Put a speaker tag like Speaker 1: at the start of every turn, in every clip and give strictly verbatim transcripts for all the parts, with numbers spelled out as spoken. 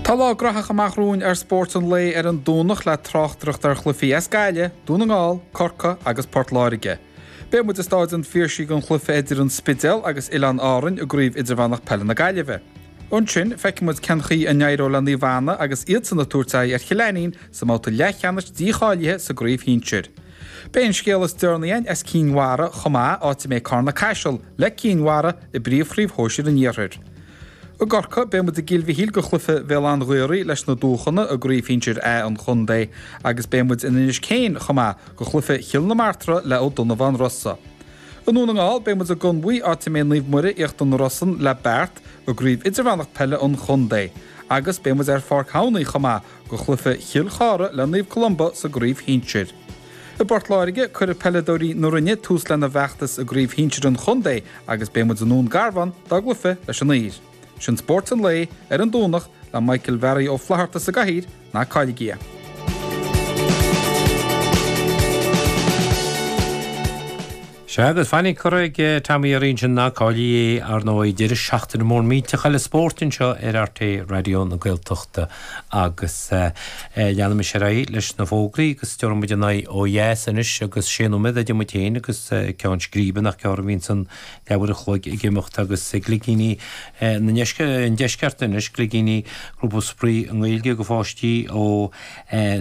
Speaker 1: Tá lá graitheach amach romhainn ar Spórt an Lae ar an Domhnach le tráchtaireacht ar chluichí as Gaillimh, Dún na nGall, Corcaigh agus Port Láirge. Beidh muid i Staid an Phiarsaigh don chluiche idir an Spidéal agus Oileáin Árann i gCraobh Idirmheánach Peile na Gaillimhe. Ansin feicfidh muid cén chaoi a n-éireoidh le Naomh Anna agus iadsan ag tabhairt aghaidh ar Chill Ainnín sa mbabhta leathcheannais dícháilithe sa gcraobh shinsir. Beidh an scéal is deireanaí againn as Cinn Mhara chomh maith, áit a mbeidh Carna Caiseal le Cinn Mhara i bpríomhchraobh shóisir an Iarthair. I gCorcaigh, beidh muid i gCill Mhichíl do chluiche Bhéal Átha an Ghaorthaidh leis na Dúchana i gcraobh shinsir A an chontae agus beidh muid in Inis Céin chomh maith do chluiche Chill na Martra le Ó Donnabháin Rosa. I nDún na nGall, beidh muid i gConmhaigh, áit a mbeidh Naomh Muire Íochtar na Rosann le Beart i gcraobh idirmheánach peile an chontae agus beidh muid ar Pháirc Thamhnaigh chomh maith do chluiche Chill Chartha le Naomh Columba sa gcraobh shinsir. I bPort Láirge, cuirfidh peileadóirí na Rinne tús lena bhfeachtas i gcraobh shinsir an chontae agus beidh muid i nDún Garbhán dá gcluiche leis an Uidhir. Sin Spórt an Lae ar an Domhnach le Michael Mhearaí Ó Flatharta sa gcathaoir, ná cailligí é.
Speaker 2: Sea, agus fainic curtha ag Tommy orainn sin ná cailligí é, ar ndóigh, deireadh seachtaine mór millteach eile spóirt anseo ar RTÉ Raidió na Gaeltachta agus leanaimis ar aghaidh leis na fógraí agus tabharfaidh muid an aghaidh ó dheas anois agus sé nóiméad idir muid féin agus ceann scríbe nach gearr a bhíonns an leathuair a chloig ag imeacht agus Gligíní na an Deisceart anois, Gligíní Grúpa Spraoi i nGaeilge do pháistí ó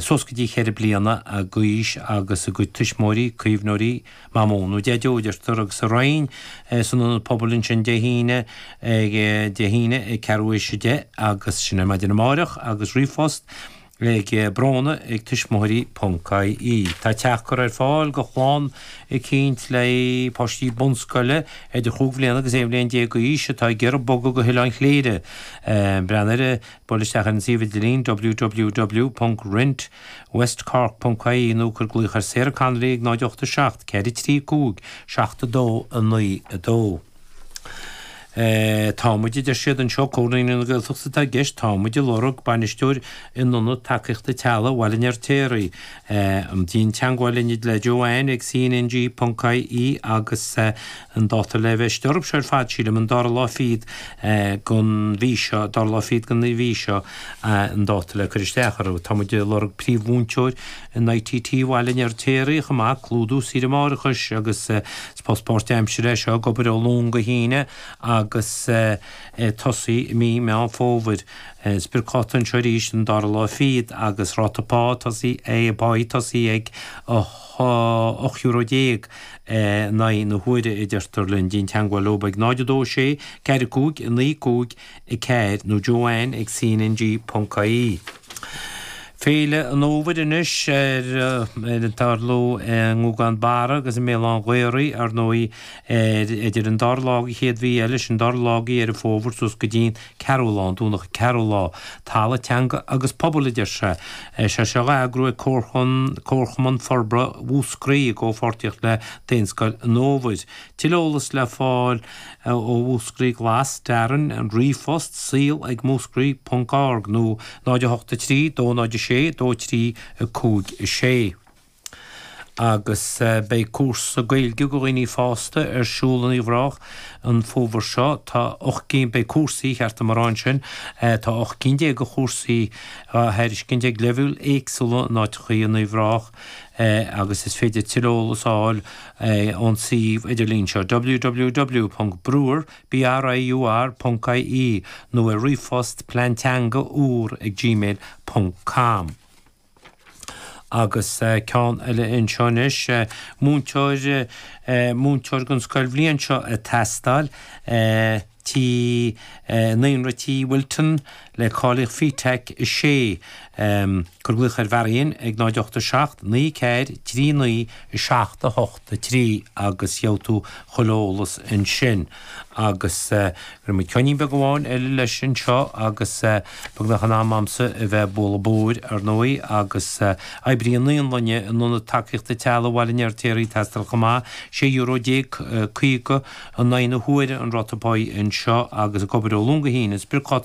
Speaker 2: suas go dtí cheithre bliana d'aois agus a gcuid tuismitheoirí, caomhnóirí, Mamó nó Deaideo a deirtear agus sa Rinn san Ionad Pobail ansin Dé hAoine ag Dé hAoine ag ceathrú théis a deich agus sin ar maidin amáireach agus ríomhphost ag Bróna ag tuismitheoirí ponc ie. Tá teach curtha ar fáil do chlann eicínt le páistí bunscoile idir chúig bhliana agus aon bhliain déag d'aois atá ag iarraidh bogadh go hOileán Chléire. Breathnaigh ar, buail isteach ar an suíomh idirlín www ponc rent westcork ponc ie nó cuir glaoch ar Sarah Connolly ag náid ocht a seacht ceithre trí cúig seacht a dó a naoi a dó. Tá muid, a deir siad anseo, Comhar Naíonraí na Gaeltachta atá i gceist, tá muid ag lorg bainisteoir in Ionad Tacaíochta Teaghlaigh Bhaile an Fheirtéaraigh. Déan teagmháil linn le Joanne ag cnng ponc ie agus an dáta le bheith istigh orthu seo ar fad, sílim, an dara lá fichead den mhí seo, dara lá fichead den mhí seo an dáta le cur isteach orthu. Tá muid ag lorg príomh-mhúinteoir in ITT Bhaile an Fheirtéaraigh chomh maith, clúdú saoire máithreachais agus is post páirtaimseartha é seo, ag obair ó Luan go hAoine agus ag tosaí i mí Meán Fómhair. Spriocdháta anseo arís an dara lá fichead agus ráta pá tosaí páí tosaí ag ocht euro déag in aghaidh na huaire a deirtear linn. Déan teagmháil leo ag náid a dó sé ceathair cúig naoi cúig a ceathair nó Joanne ag cnng ponc ie. Féile an Fhómhair anois ar tarlú i nGúgán Barra agus i mBéal Átha an Ghaorthaidh, ar ndóigh, ar idir an dara lá den chéad mhí eile, sin dara lá de Dheireadh Fómhair suas go dtí an ceathrú lá, an Domhnach an ceathrú lá. Talamh, Teanga agus Pobal, a deir sé. Sé seo á eagrú ag Comharchumann Forbartha Mhúscraí i gcomhpháirtíocht le Daonscoil an Fhómhair. Tuilleadh eolas le fáil ó Mhúscraí Glas, Darren, an ríomhphost, saol ag múscraí ponc org nó náid a hocht a trí dó náid a sé dó trí a cúig a sé. Agus beidh cúrsa Gaeilge do dhaoine fásta ar siúl in Uíbh Ráthach an fómhar seo. Tá ocht gcinn, beidh cúrsaí, cheart dom a rá ansin, tá ocht gcinn déag de chúrsaí á thairiscint ag leibhéil éagsúla in áiteachaí in Uíbh Ráthach agus is féidir tuilleadh eolas a fháil ón suíomh idirlín seo, www ponc briur, B-R-I-U-R, ponc I-E nó ar ríomhphost pleanteanga úr ag gmail ponc com. Agus ceann eile anseo anois, múinteoir, múinteoir don scoilbhliain seo ag teastáil, Tí, Naíonra Tí Wilton le cáilíocht FETAC a sé. Cuir glaoch ar Mharion ag náid ocht a seacht naoi ceathair trí naoi seacht a hocht a trí agus gheobhaidh tú chuile eolas ansin. Agus cuirfidh muid ceoinín beag amháin eile leis anseo agus beagnach in am a'msa a bheith ag bualadh bóthair, ar ndóigh, agus oibrí naíolainne in Ionad Tacaíochta Teaghlaigh Bhaile an Fheirtéaraigh ag teastáil chomh maith, sé euro déag caoga in aghaidh na huaire an ráta páí anseo agus ag obair ó Luan go hAoine. Spriocdháta